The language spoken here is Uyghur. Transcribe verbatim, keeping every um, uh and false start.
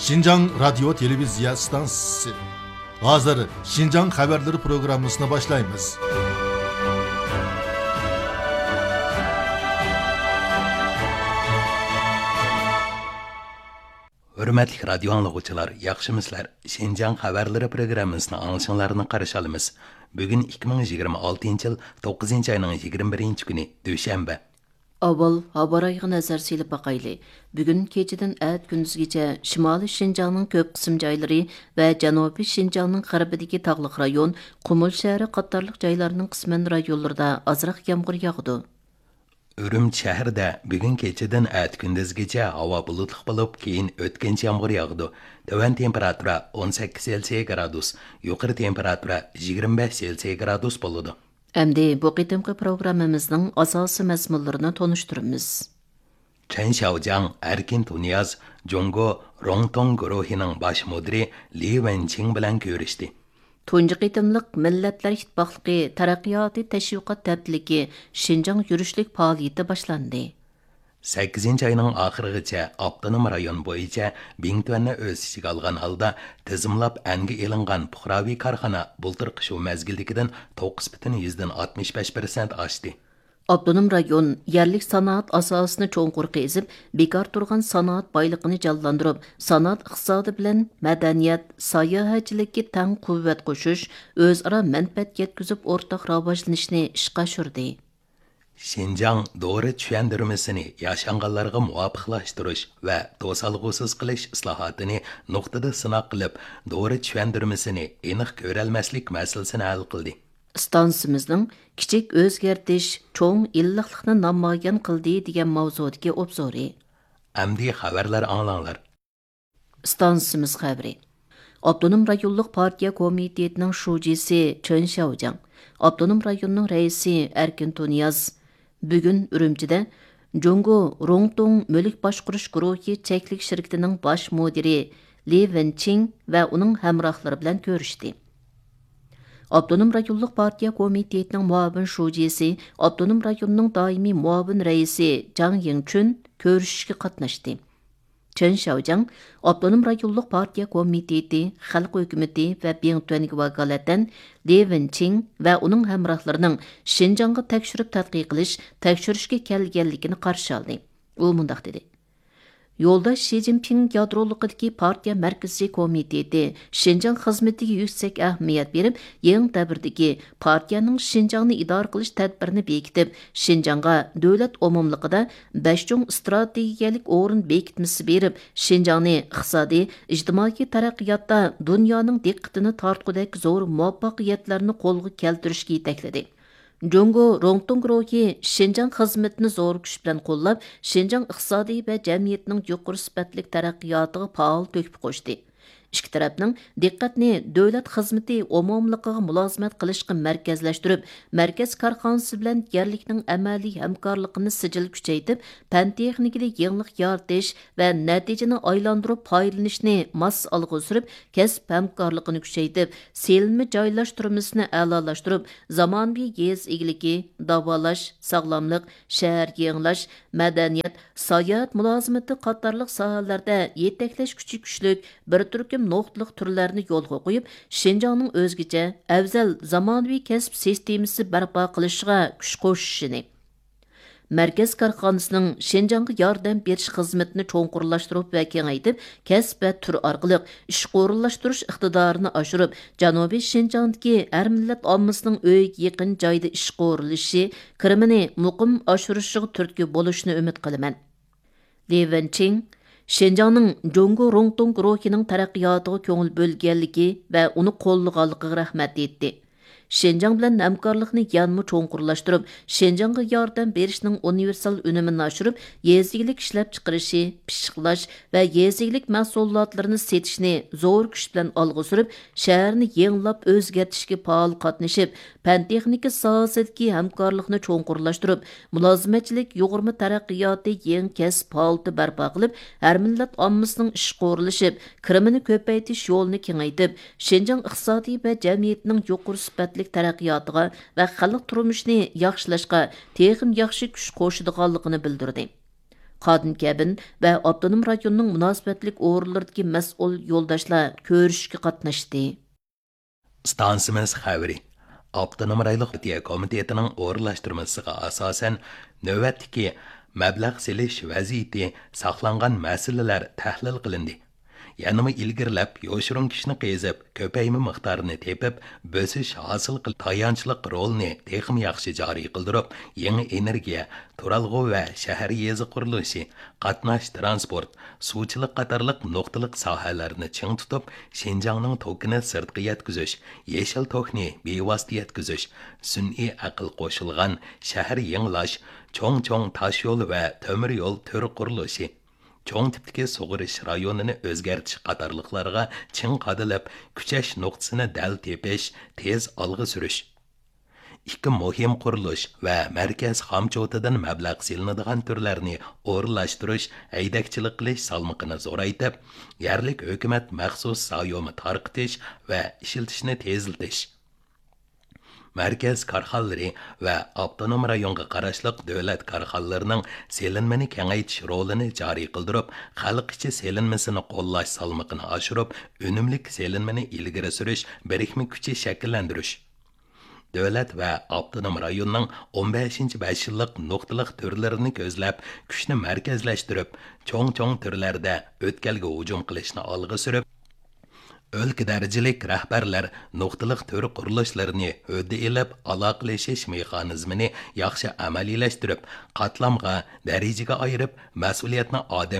شىنجاڭ رادىيو تېلېۋىزىيە ئىستانسىسى. ھازىر شىنجاڭ خەۋەرلىرى پروگراممىسىنى باشلايمىز. ھۆرمەتلىك رادىيو ئاڭلىغۇچىلار، ياخشىمۇسىلەر؟ شىنجاڭ خەۋەرلىرى پروگراممىسىنى ئاڭلىشىڭلارنى قارشى ئالىمىز. بۈگۈن ئىككى مىڭ يىگىرمە ئالتىنچى يىل توققۇزىنچى ئاينىڭ يىگىرمە بىرىنچى كۈنى، دۈشەنبە. ئاۋۋال ھاۋارايىغا نەزەر سېلىپ باقايلى. بۈگۈن كېچىدىن ئەتە كۈندۈزگىچە شىمالىي شىنجاڭنىڭ كۆپ قىسىم جايلىرى ۋە جەنۇبىي شىنجاڭنىڭ غەربىدىكى تاغلىق رايون، قۇمۇل شەھىرى قاتارلىق جايلارنىڭ قىسمەن رايونلىرىدا ئازراق يامغۇر ياغىدۇ. ئۈرۈمچى شەھىرىدە بۈگۈن كېچىدىن ئەتە كۈندۈزگىچە ھاۋا بۇلۇتلۇق بولۇپ، كېيىن ئۆتكۈنچى يامغۇر ياغىدۇ. تۆۋەن تېمپېراتۇرا ئون سەككىز سېلسىيە گرادۇس، يۇقىرى تېمپېراتۇرا يىگىرمە بەش سېلسىيە گرادۇس بولىدۇ. ئەمدى بۇ قېتىمقى پروگراممىمىزنىڭ ئاساسىي مەزمۇنلىرىنى تونۇشتۇرىمىز. چېن شياۋجياڭ، ئەركىن تۇنىياز، جۇڭگو روڭتوڭ گۇرۇھىنىڭ باش مۇدىرى لى ۋېنچىڭ بىلەن كۆرۈشتى. تۇنجى قېتىملىق مىللەتلەر ئىتتىپاقلىقى تەرەققىياتى تەشۋىقات ھەپتىلىكى شىنجاڭ يۈرۈشلۈك پائالىيىتى باشلاندى. سەككىزىنچى ئاينىڭ ئاخىرىغىچە ئاپتونوم رايون بويىچە بىڭتۈەننى ئۆز ئىچىگە ئالغان ھالدا تىزىملاپ ئەنگە ئېلىنغان پۇقراۋى كارخانا بۇلتۇرقى شۇ مەزگىلدىكىدىن توققۇز پۈتۈن يۈزدىن ئاتمىش بەش پىرسەنت ئاشتى. ئاپتونوم رايون يەرلىك سانائەت ئاساسىنى چوڭقۇر قېزىپ، بىكار تۇرغان سانائەت بايلىقىنى جانلاندۇرۇپ، سانائەت ئىقتىسادى بىلەن مەدەنىيەت، ساياھەتچىلىككە تەڭ قۇۋۋەت قوشۇش، ئۆزئارا مەنپەئەت يەتكۈزۈپ، ئورتاق راۋاجلىنىشنى ئىشقا ئاشۇردى. شىنجاڭ دورا چۈشەندۈرمىسىنى ياشانغانلارغا مۇۋاپىقلاشتۇرۇش ۋە توسالغۇسىز قىلىش ئىسلاھاتىنى نۇقتىدا سىناق قىلىپ، دورا چۈشەندۈرمىسىنى ئېنىق كۆرەلمەسلىك مەسىلىسىنى ھەل قىلدى. ئىستانسىمىزنىڭ كىچىك ئۆزگەرتىش چوڭ ئىللىقلىقنى نامايان قىلدى دېگەن ماۋزۇدىكى ئوبزورى. ئەمدى خەۋەرلەر ئاڭلاڭلار. ئىستانسىمىز خەۋىرى. ئاپتونوم رايونلۇق پارتىيە كومىتېتىنىڭ شۇجىسى چېن شياۋجياڭ، ئاپتونوم رايوننىڭ رەئىسى ئەركىن تۇنىياز بۈگۈن ئۈرۈمچىدە جۇڭگو روڭتوڭ مۈلۈك باشقۇرۇش گۇرۇھى چەكلىك شىركىتىنىڭ باش مۇدىرى لى ۋېنچىڭ ۋە ئۇنىڭ ھەمراھلىرى بىلەن كۆرۈشتى. ئاپتونوم رايونلۇق پارتىيە كومىتېتىنىڭ مۇئاۋىن شۇجىسى، ئاپتونوم رايوننىڭ دائىمىي مۇئاۋىن رەئىسى جاڭ يىڭچۈن كۆرۈشۈشكە قاتناشتى. چېن شياۋجياڭ ئاپتونوم رايونلۇق پارتىيە كومىتېتى، خەلق ھۆكۈمىتى ۋە بىڭتۈەنگە ۋاكالىتەن لى ۋېنچىڭ ۋە ئۇنىڭ ھەمراھلىرىنىڭ شىنجاڭغا تەكشۈرۈپ تەتقىق قىلىش، تەكشۈرۈشكە كەلگەنلىكىنى قارشى ئالدى. ئۇ مۇنداق دېدى: يولداش شى جىنپىڭ يادرولۇقىدىكى پارتىيە مەركىزىي كومىتېتى شىنجاڭ خىزمىتىگە يۈكسەك ئەھمىيەت بېرىپ، يېڭى دەۋردىكى پارتىيەنىڭ شىنجاڭنى ئىدارە قىلىش تەدبىرىنى بېكىتىپ، شىنجاڭغا دۆلەت ئومۇملۇقىدا بەش چوڭ ئىستراتېگىيەلىك ئورۇن بېكىتمىسى بېرىپ، شىنجاڭنى ئىقتىسادىي، ئىجتىمائىي تەرەققىياتتا دۇنيانىڭ دىققىتىنى تارتقۇدەك زور مۇۋەپپەقىيەتلەرنى قولغا كەلتۈرۈشكە يېتەكلىدى. جۇڭگو روڭتوڭ گۇرۇھى شىنجاڭ خىزمىتىنى زور كۈچ بىلەن قوللاپ، شىنجاڭ ئىقتىسادىي ۋە جەمئىيىتىنىڭ يۇقىرى سۈپەتلىك تەرەققىياتىغا پائال تۆھپە قوشتى. ئىككى تەرەپنىڭ دىققەتنى دۆلەت خىزمىتى ئومۇملۇقىغا مۇلازىمەت قىلىشقا مەركەزلەشتۈرۈپ، مەركەز كارخانىسى بىلەن يەرلىكنىڭ ئەمەلىي ھەمكارلىقىنى سىجىل كۈچەيتىپ، پەن تېخنىكىدا يېڭىلىق يارىتىش ۋە نەتىجىنى ئايلاندۇرۇپ پايدىلىنىشنى ماس ئالغا سۈرۈپ، كەسىپ ھەمكارلىقىنى كۈچەيتىپ، سېلىنما جايلاشتۇرمىسىنى ئەلالاشتۇرۇپ، زامانىۋى يېزا ئىگىلىكى، داۋالاش، ساغلاملىق، شەھەر يېڭىلاش، مەدەنىيەت، ساياھەت مۇلازىمىتى قاتارلىق ساھەلەردە يېتەكلەش كۈچى كۈچلۈك بىر تۈركۈم نۇقتىلىق تۈرلەرنى يولغا قويۇپ، شىنجاڭنىڭ ئۆزگىچە، ئەۋزەل زامانىۋى كەسىپ سىستېمىسى بەرپا قىلىشىغا كۈچ قوشۇشىنى، مەركەز كارخانىسىنىڭ شىنجاڭغا ياردەم بېرىش خىزمىتىنى چوڭقۇرلاشتۇرۇپ ۋە كېڭەيتىپ، كەسىپ ۋە تۈر ئارقىلىق ئىشقا ئورۇنلاشتۇرۇش ئىقتىدارىنى ئاشۇرۇپ، جەنۇبىي شىنجاڭدىكى ھەر مىللەت ئاممىسىنىڭ ئۆيىگە يېقىن جايدا ئىشقا ئورۇنلىشىشى، كىرىمىنى مۇقىم ئاشۇرۇشىغا تۈرتكە بولۇشىنى ئۈمىد قىلىمەن. لى ۋېنچىڭ شىنجاڭنىڭ جۇڭگو روڭتوڭ گۇرۇھىنىڭ تەرەققىياتىغا كۆڭۈل بۆلگەنلىكى ۋە ئۇنى قوللىغانلىقىغا رەھمەت ئېيتتى. شىنجاڭ بىلەن ھەمكارلىقنى يەنىمۇ چوڭقۇرلاشتۇرۇپ، شىنجاڭغا ياردەم بېرىشنىڭ ئۇنىۋېرسال ئۈنۈمىنى ئاشۇرۇپ، يېزا ئىگىلىك ئىشلەپچىقىرىشى، پىششىقلاش ۋە يېزا ئىگىلىك مەھسۇلاتلىرىنى سېتىشنى زور كۈچ بىلەن ئالغا سۈرۈپ، شەھەرنى يېڭىلاپ ئۆزگەرتىشكە پائال قاتنىشىپ، پەن تېخنىكا ساھەسىدىكى ھەمكارلىقنى چوڭقۇرلاشتۇرۇپ، مۇلازىمەتچىلىك يۇغۇرما تەرەققىياتى يېڭى كەسىپ ھالىتى بەرپا قىلىپ، ھەر مىللەت ئاممىسىنىڭ ئىشقا ئورۇنلىشىپ، كىرىمىنى كۆپەيتىش يولىنى كېڭەيتىپ، شىنجاڭ ئىقتىسادى ۋە جەمئىيىتىنىڭ يۇقىرى سۈپەتلىك تەرەققىياتىغا ۋە خەلق تۇرمۇشىنى ياخشىلاشقا تېخىمۇ ياخشى كۈچ قوشىدىغانلىقىنى بىلدۈردى. قادىن كەبىن ۋە ئاپتونوم رايوننىڭ مۇناسىۋەتلىك ئورۇنلىرىدىكى مەسئۇل يولداشلار كۆرۈشۈشكە قاتناشتى. ئىستانسىمىز خەۋىرى. ئاپتونوم رايونلۇق پارتىيە كومىتېتىنىڭ ئورۇنلاشتۇرمىسىغا ئاساسەن، نۆۋەتتىكى مەبلەغ سېلىش ۋەزىيىتى، ساقلانغان مەسىلىلەر تەھلىل قىلىندى. يەنىمۇ ئىلگىرىلەپ، يوشۇرۇن كۈچنى قېزىپ، كۆپەيمە مىقدارىنى تېپىپ، بۆسۈش ھاسىل قىل، تايانچلىق رولىنى تېخىمۇ ياخشى جارى قىلدۇرۇپ، يېڭى ئېنېرگىيە، تۇرالغۇ ۋە شەھەر يېزا قۇرۇلۇشى، قاتناش ترانسپورت، سۇچىلىق قاتارلىق نۇقتىلىق ساھەلەرنى چىڭ تۇتۇپ، شىنجاڭنىڭ توكىنى سىرتقا يەتكۈزۈش، يېشىل توكنى بىۋاسىتە يەتكۈزۈش، سۈنئىي ئەقىل قوشۇلغان شەھەر يېڭىلاش، چوڭ چوڭ تاشيول ۋە تۆمۈر يول تۈر قۇرۇلۇشى، چوڭ تىپتىكى سۇغىرىش رايونىنى ئۆزگەرتىش قاتارلىقلارغا چىڭ قادىلىپ، كۈچەش نۇقتىسىنى دەل تېپىش، تېز ئالغا سۈرۈش. ئىككى مۇھىم قۇرۇلۇش ۋە مەركەز خامچوتىدىن مەبلەغ سېلىنىدىغان تۈرلەرنى ئورۇنلاشتۇرۇش، ھەيدەكچىلىك قىلىش سالمىقىنى زورايتىپ، يەرلىك ھۆكۈمەت مەخسۇس زايومى تارقىتىش ۋە ئىشلىتىشنى تېزلىتىش. مەركەز كارخانىلىرى ۋە ئاپتونوم رايونغا قاراشلىق دۆلەت كارخانىلىرىنىڭ سېلىنمىنى كېڭەيتىش رولىنى جارى قىلدۇرۇپ، خەلق ئىچى سېلىنمىسىنى قوللاش سالمىقىنى ئاشۇرۇپ، ئۈنۈملۈك سېلىنمىنى ئىلگىرى سۈرۈش بىرىكمە كۈچى شەكىللەندۈرۈش. دۆلەت ۋە ئاپتونوم رايوننىڭ ئون بەشىنچى بەش يىللىق نۇقتىلىق تۈرلىرىنى كۆزلەپ، كۈچنى مەركەزلەشتۈرۈپ، چوڭ چوڭ تۈرلەردە ئۆتكەلگە ھۇجۇم قىلىشنى ئالغا سۈرۈپ، ئۆلكە دەرىجىلىك رەھبەرلەر نۇقتىلىق تۈر قۇرۇلۇشلىرىنى ھۆددە ئېلىپ، ئالاقىلىشىش مېخانىزمىنى ياخشى ئەمەلىيلەشتۈرۈپ، قاتلامغا، دەرىجىگە ئايرىپ، مەسئۇلىيەتنى ئادەم